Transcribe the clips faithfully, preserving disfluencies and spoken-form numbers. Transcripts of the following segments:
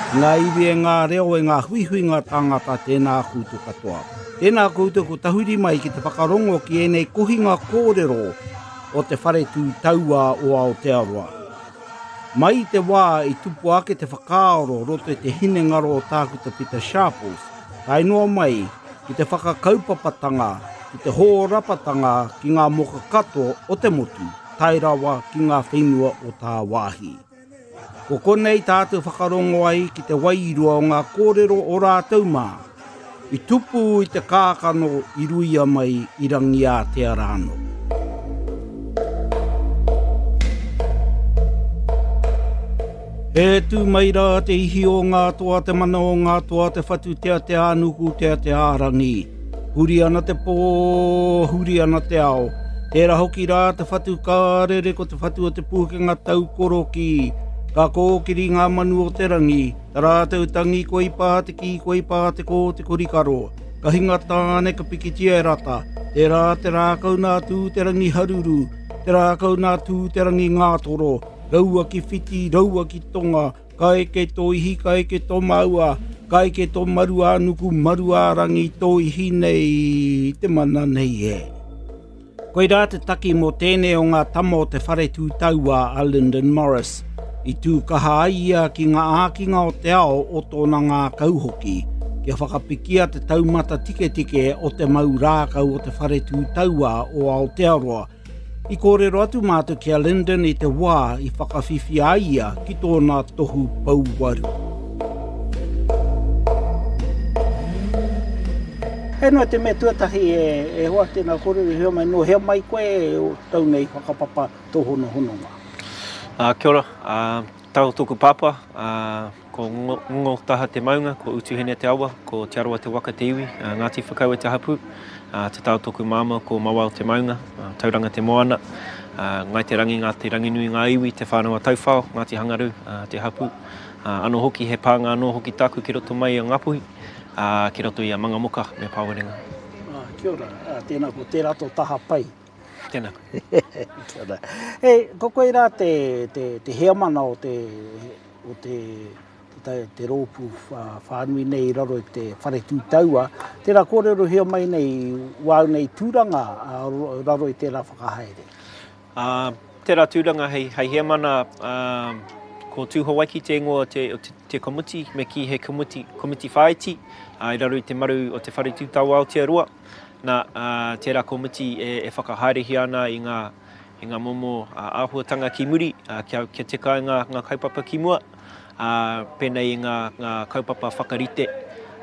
Ngā iwi e ngā reo e ngā huihui ngā tāngata tēnā koutou katoa. Tēnā koutou ko tahuri mai ki te whakarongo ki ēnei kohinga kōrero o te whare tū taua o Aotearoa. Mai i te wā i tupu ake te whakaaro roto i te hinengaro o Tākuta Pita Sharples, tae noa mai ki te whakakaupapatanga, ki te hōrapatanga ki ngā moka katoa o te motu, tae rawa ki ngā whenua o tāwāhi. Ko konei tātou whakarongo ai ki te wairua o ngā kōrero o rātou mā. I tupu i te kākano i ruia mai i Rangiātea rānō. E tū mai rā te ihi o ngā toa, te mana o ngā toa, te whatu tea te ānuku tea te ārangi. Huri ana te pō, huri ana te ao. Tērā hoki rā te whatu kārere ko te whatu o te pūkenga taukoroki. Ka kōkiri ngā manu o te rangi, tā rātou tangi koi pā te kī, koi pā te kō te korikaro. Ka hinga tāne ka pikitia e rata, tērā te rākau nā tū te rangi haruru, te rākau nā tū te rangi ngātoro, raua ki whiti, raua ki tonga, ka eke tō ihi, ka eke tō maua, ka eke tō maru ā-nuku, maru ā-rangi, tō ihi nei, te mana nei e. Koirā te taki mō tēnei o ngā tama o te whare tū taua a Lyndon Morris. I tū kaha ai ia ki ngā ākinga o te ao o tōna ngākau hoki, kia whakapikia te taumata tiketike o te mau rākau o te whare tū taua o Aotearoa. I kōrero atu mātou ki a Lyndon i te wā i whakawhiwhia ai ia ki tōna tohu pouwaru. He noa te mea tuatahi e, e hoa tēnā kōrero i hea mai, no hea mai koe o tau nei whakapapa tōhono hononga. Uh, kia ora, uh, tau tōku pāpā, uh, ko Ngongotaha te maunga, ko Utuhene te awa, ko Te Arawa te waka te iwi, uh, Ngāti Whakaue te hapū, uh, te tau tōku māma, ko Mawao te maunga, uh, Tauranga te moana, uh, Ngai te Rangi, Ngā te Ranginui ngā iwi, Te Whānau a Tauwhao, Ngāti Hangaru uh, te hapū. Uh, anō hoki, he pānga anō hoki tāku ki roto mai i a Ngāpuhi, uh, ki roto i a Mangamoka me Pāwerenga. Uh, kia ora, uh, tēnā ko tērā tō taha pai. Tēnā. Kia ora. Hey, ko koe rā te, te, te heamana o te, o te, te, te rōpū whānui nei i raro i te whare tū taua. Tērā kōrerohia mai nei wāu nei tūranga raro i tērā whakahaere. Uh, tērā tūranga hei, hei heamana uh, ko Tūhawaiki te ingoa te, te, te komiti, me ki he komiti, komiti whāiti uh, i raro i te maru o te whare tū taua Aotearoa. Nā, uh, tērā komiti e, e whakahaerehia ana i ngā, i ngā momo uh, āhuatanga ki muri, uh, kia, kia tika ai ngā, ngā kaupapa ki mua, uh, pēnei i ngā, ngā kaupapa whakarite,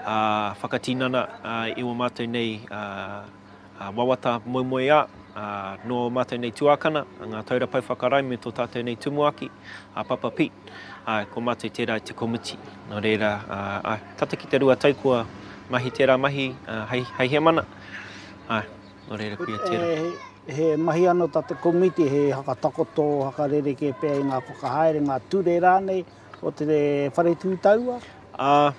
uh, whakatinana uh, i o mātou nei uh, uh, wawata moemoeā, uh, nō mātou nei tuakana, ngā taura pau whakarae me tō tātou nei tumuaki, a Papa Pete. Uh, ko mātou tērā i te komiti. Nō reira, uh, uh, tata ki te rua tau kua mahi tērā mahi uh, hei, hei heamana. Ai, nō reira kuia tērā. He, he mahi anō tā te komiti, he hakatakoto, hakarereke pea i ngā whakahaere, ngā ture rānei o te whare tū taua? Uh,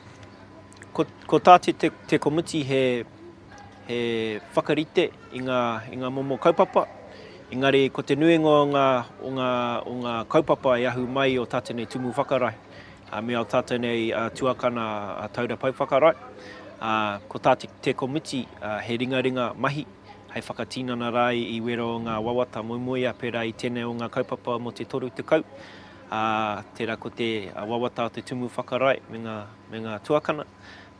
ko, ko tā te, te, te komiti he, he whakarite i ngā, i ngā momo kaupapa. Engari ko te nuinga o ngā, o ngā, o ngā kaupapa e ahu mai o tātou nei tumu whakarae, uh, me o tātou nei uh, tuakana uh, taura pau whakarae. Uh, ko tā te, te komiti uh, he ringaringa mahi hei whakatinana rā i wera o ngā wawata moemoeā pērā i tēnei o ngā kaupapa mō te toru tekau. Uh, tērā ko te wawata o te tumu whakarae me ngā, me ngā tuakana.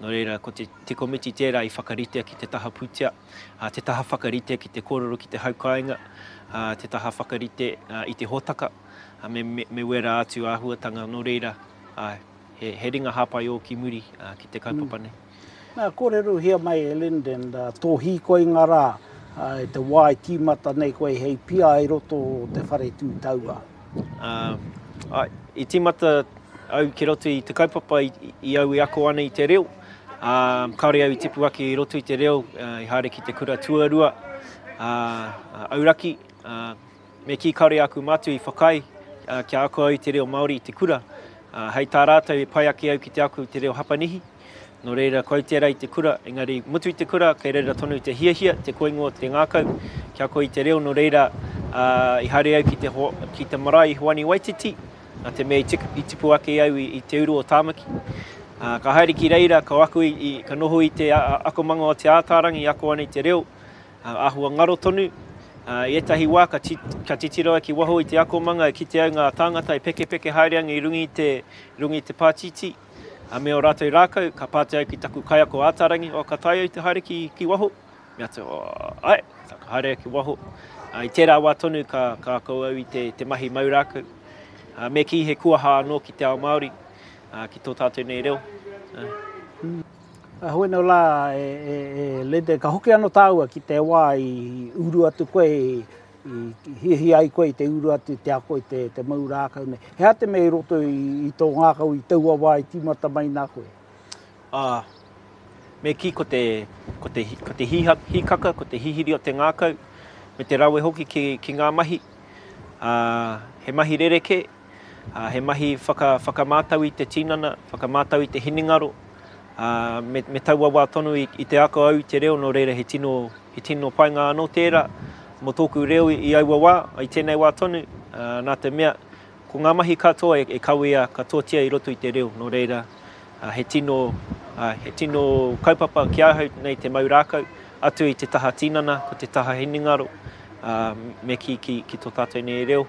Nō reira, ko te, te komiti tērā i whakaritea ki te taha pūtea, uh, te taha whakaritea ki te kōrero ki te haukainga, uh, te taha whakarite uh, i te hōtaka, uh, me, me, me wera atu āhuatanga. Nō reira, uh, he, he ringa hāpai ō ki muri uh, ki te kaupapa nei. Nā, kōrerohia mai e Lyndon, uh, tō hīkoi ngā rā, uh, te wā i tīmata nei koe hei pia i roto o te whare tū taua. Uh, ai, i tīmata au ki roto i te kaupapa i, i au i ako ana i te reo. Uh, kāore au i tipu ake i roto i te reo, uh, i haere ki te kura tuarua, uh, auraki. Uh, me kī kāore aku mātua i whakaae uh, kia ako au i te reo Māori i te kura. Uh, hei tā rātou e pai ake au ki te ako i te reo Hapanihi. Nō reira, kau tērā i te kura, engari mutu i te kura, kei reira tonu te hiahia, te koingo, te ngākau, kia ako i te reo. Nō reira, uh, i haere au ki te, ho, ki te marae i Hoani Waititi, Nā te mea i, tiku, i tipu ake au i, i te uru o Tāmaki. Uh, ka haere ki reira, ka, aku i, i, ka noho i te akomanga o Te Ātaarangi, ako ana i te reo, uh, āhua ngaro tonu. Uh, I ētahi wā ka, ti, ka titiro ai ki waho i te akomanga, e kite au ngā tāngata e pekepeke haere ana i runga i te, runga i te pātītī, uh, me ō rātou rākau, ka pātai au ki taku kaiako Ātaarangi, oh, ka taea au te haere ki, ki waho? Me atu, oh, ai, ka haere au ki waho. Uh, I tērā wā tonu ka, ka ako au i te, te mahi mau rākau. Uh, me kī he kuaha anō ki te ao Māori, uh, ki tō tātou nei reo. Uh. Mm. Hoi nō la, e, e, e Linda, ka hoki anō tāua ki te wā i uru atu koe, i, i hiahia ai koe i te uru atu i te ako i te, te mau rākau nei. He aha te mea i roto i, i tō ngākau i taua wā i tīmata mai nā koe? Ah, me kī ko te, ko te, ko te hiha, hikaka, ko te hihiri o te ngākau, me te rawe hoki ki, ki ngā mahi. Ah, he mahi rerekē, ah, he mahi whaka, whakamātau i te tinana, whakamātau i te hinengaro, ah, me, me taua wā tonu i, i te ako au i te reo, nō reira he tino, he tino painga anō tērā mō tōku reo i, i aua wā, i tēnei wā tonu, ah, nā te mea, ko ngā mahi katoa e, e kawea katoatia i roto i te reo, nō reira, ah, he tino, ah, he tino kaupapa ki ahau nei te mau rākau, atu i te taha tinana, ko te taha hinengaro, ah, me ki, ki, ki tō tātou nei reo.